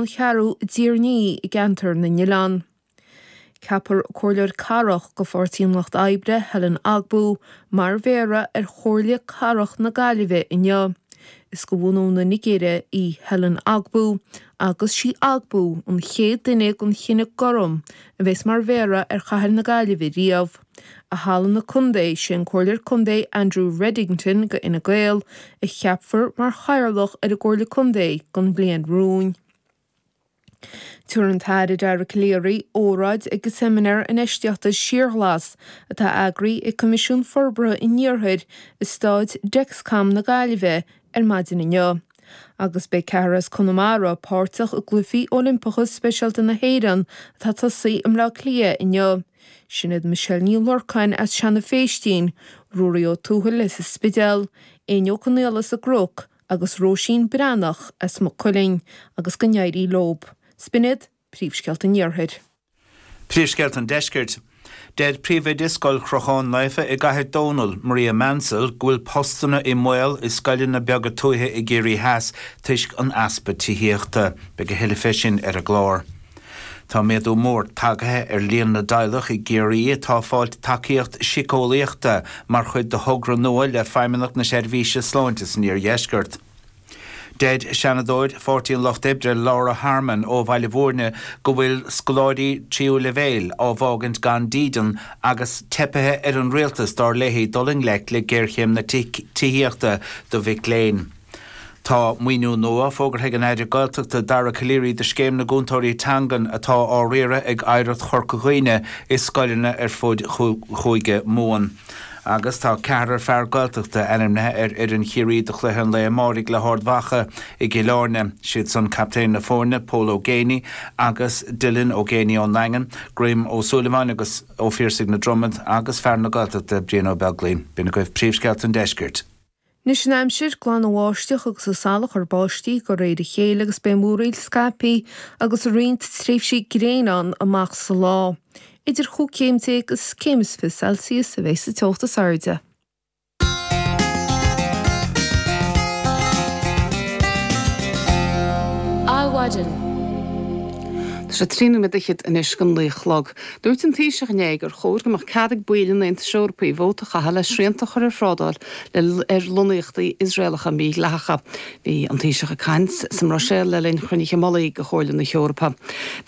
Cheathrú i dTír an Fhia i gCeantar na nOileán. Ceapfar Comhairleoir Cathrach do Pháirtí an Lucht Oibre, Helen Ogbu, mar Mhéara ar Chomhairle Cathrach na Gaillimhe inniu. Is de bhunú na Nigéire í Helen Ogbu agus sí Ogbu an chéad duine den chine gorm a bheas mar Mhéara ar Chathair na Gaillimhe riamh. I Halla na Contae, sé an Comhairleoir Contae Andrew Reddington go Fhine Gael a cheapfar mar Chathaoirleach ar an gComhairle Contae don bhliain romhainn. Tabharfaidh an tAire Dara Calleary óráid ag an Seimineár Infheistíochta Síorghlas atá eagraithe ag Coimisiún Forbartha an Iarthair i Staid Dexcom na Gaillimhe ar maidin inniu. Agus beidh ceathrar as Conamara páirteach i gCluichí Oilimpeacha Speisialta na hÉireann atá ag tosaí i mBleá Cliath inniu. Sin iad Michelle Ní Lorcáin as Seanadh Phéistín, Ruairí Ó Tuathail as an Spidéal, Éinne Ó Conaola as an gCnoc agus Róisín Breathnach as Maigh Cuilinn agus go n-éirí leob. 'S b'in iad príomhscéalta an Iarthair. Príomhscéalta an Deiscirt. Deir príomhoide Scoil Chrocháin Naofa i gCathair Dónall, Maria Mansell, go bhfuil postanna i mbaol i scoileanna beaga tuaithe i gCiarraí Theas toisc an easpa tithíochta. Beidh a thuilleadh fé sin ar an gclár. Tá méadú mór tagaithe ar líon na dteaghlach i gCiarraí atá ag fáilt tacaíocht siceolaíochta mar chuid de thogra nua le Feidhmeannacht na Seirbhíse Sláinte san Iardheisceart. Deir Seanadóir Pháirtí an Lucht Oibre Laura Harmon ó Bhaile Bhúirne go bhfuil scoláirí tríú leibhéil á bhfágaint gan dídean agus teipithe ar an rialtas dar léi dul i ngleic le géarchéim na tithíochta do mhic léinn. Tá maoiniú nua fógartha ag an Aire Gaeltachta Dara Calleary do Scéim na gCúntóirí Teangan atá á riaradh ag Oidhreacht Chorca Dhuibhne i scoileanna ar fud Chúige Mumhan. Agus tá ceathrar fear Gaeltachta ainmnithe ar fhoireann Chiarraí do chluiche an lae amáirigh le hArd Mhacha i gCill Airne. Siad san captaen na foirne, Pól Ó Géibheannaigh agus Dylan Ó Géibheannaigh ón nDaingean, Graham Ó Súilleabháin agus Ó Phiarsaigh na Dromad agus fear na Gaeltachta, Brian Ó Beaglaoich. B'in agaibh príomhscéalta an deiscirt. Anois an aimsir, Glanbháisteach agus ag salachar báistí de réir a chéile agus beidh múraíl scaipthe agus roinnt tréimhsí gréine ann amach sa lá. Idir chúig chéim déag is céim is 20 Celsius a bheidh sa teocht is airde. Adhmhaidin. Tá sé 13 nóiméad anois don naoi a chlog. Dúirt an Taoiseach inné gur chóir go mbeadh cead ag baill an Aontais Eorpaigh vóta a chaitheamh le srianta a chur ar thrádáil ar lonnaíochtaí Iosraelacha mídhleathacha. Bhí an Taoiseach ag caint sa mBruiséil le linn chruinnithe mullaigh de Chomhairle na hEorpa.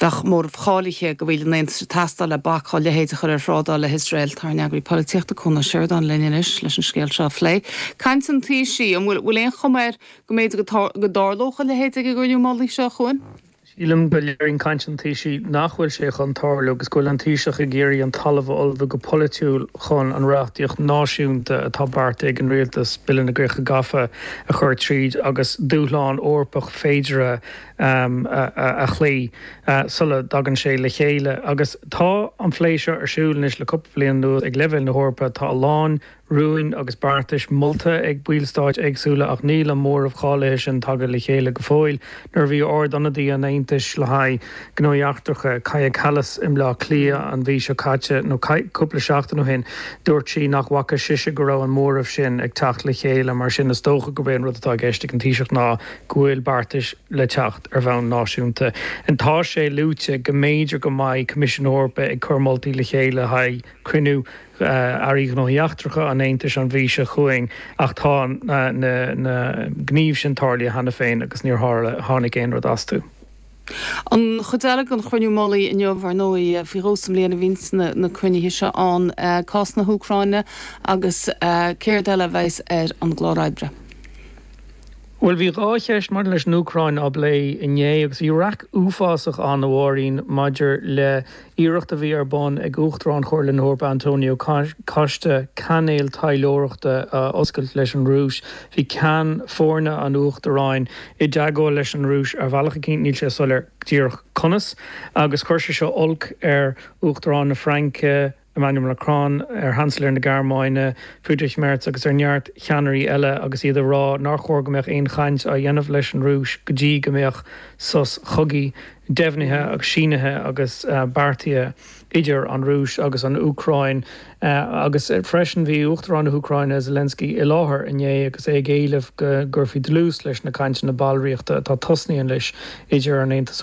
Bheadh móramh cáilithe de bhaill an Aontais ag teastáil le bac dá leithéid a chur ar thrádáil le hIosrael. Tá ár n-eagraí polaitíochta Cuan Ó Seireadáin linn anois leis an scéal seo a phlé. Caint an Taoisigh, an bhfuil aon chuma air go mb'fhéidir go dtarlódh a leithéid ag an gcruinniú mullaigh seo, a Chuain? Sílim go léiríonn caint an Taoisigh nach bhfuil sé chun tarlú agus go bhfuil an Taoiseach ag iarraidh an talamh a ullmhú go polaitiúil chun an reachtaíocht náisiúnta atá beartaithe ag an rialtas, Bille na gCríocha Gafa, a chur tríd agus dúshlán Eorpach féideartha a chloí sula dtagann sé le chéile. Agus tá an plé seo ar siúl anois le cúpla bliain anuas ag leibhéal na hEorpa. Tá a lán rúin agus beartais molta ag ballstáit éagsúla ach níl an móramh cáilithe sin tagtha le chéile go fóill. Nuair a bhí Ard-Ionadaí an Aontais le haghaidh Gnóthaí Eachtracha, Kaja Kallas, i mBleá Cliath an mhí seo caite, nó cúpla seachtain ó shin, dúirt sí nach bhfaca sise go raibh an móramh sin ag teacht le chéile. Mar sin, is dócha gurb é an rud atá i gceist ag an Taoiseach ná go bhfuil beartais le teacht ar bhonn náisiúnta. Tá sé luaite go mb'fhéidir go mbeidh Coimisiún na hEorpa ag cur moltaí le chéile le haghaidh cruinniú Airí Gnóthaí Eachtracha an Aontais an mhí seo chugainn ach tá na gnímh sin tarlaithe cheana féin agus níor tharla, tháinig aon rud astu. An chuid eile den chruinniú mullaigh inniu, ar ndóigh, faoi dhó sa mbliain a bhíonns na cruinnithe seo ann, cás na hÚcráine agus céard eile a bheas ar an gclár oibre? Bhuel, bhí dhá cheist maidir leis an Úcráin á bplé inné agus bhí raic uafásach ann, a Mháirín, maidir le iarracht a bhí ar bun ag Uachtarán Chomhairle na hEorpa Antonio Costa cainéal taidhleoireachta a oscailt leis an Rúis. Bhí ceann foirne an Uachtaráin i dteagmháil leis an Rúis ar bhealach eicínt, níl sé soiléir díreach conas, agus chuir sé seo olc ar Uachtarán na Fraince. Emmanuel Macron, ar Sheansailéir na Gearmáine, Friedrich Merz agus ar neart cheannairí eile agus iad ag rá nár chóir go mbeadh aon chaint á dhéanamh leis an Rúis go dtí go mbeadh sos chogaidh deimhnithe agus sínithe agus beartaithe idir an Rúis agus an Úcráin. Agus freisin bhí Uachtarán na hÚcráine Zelensky i láthair inné agus é ag éileamh go gcuirfí dlús leis na cainteanna ballraíochta atá tosnaithe anois idir an Aontas.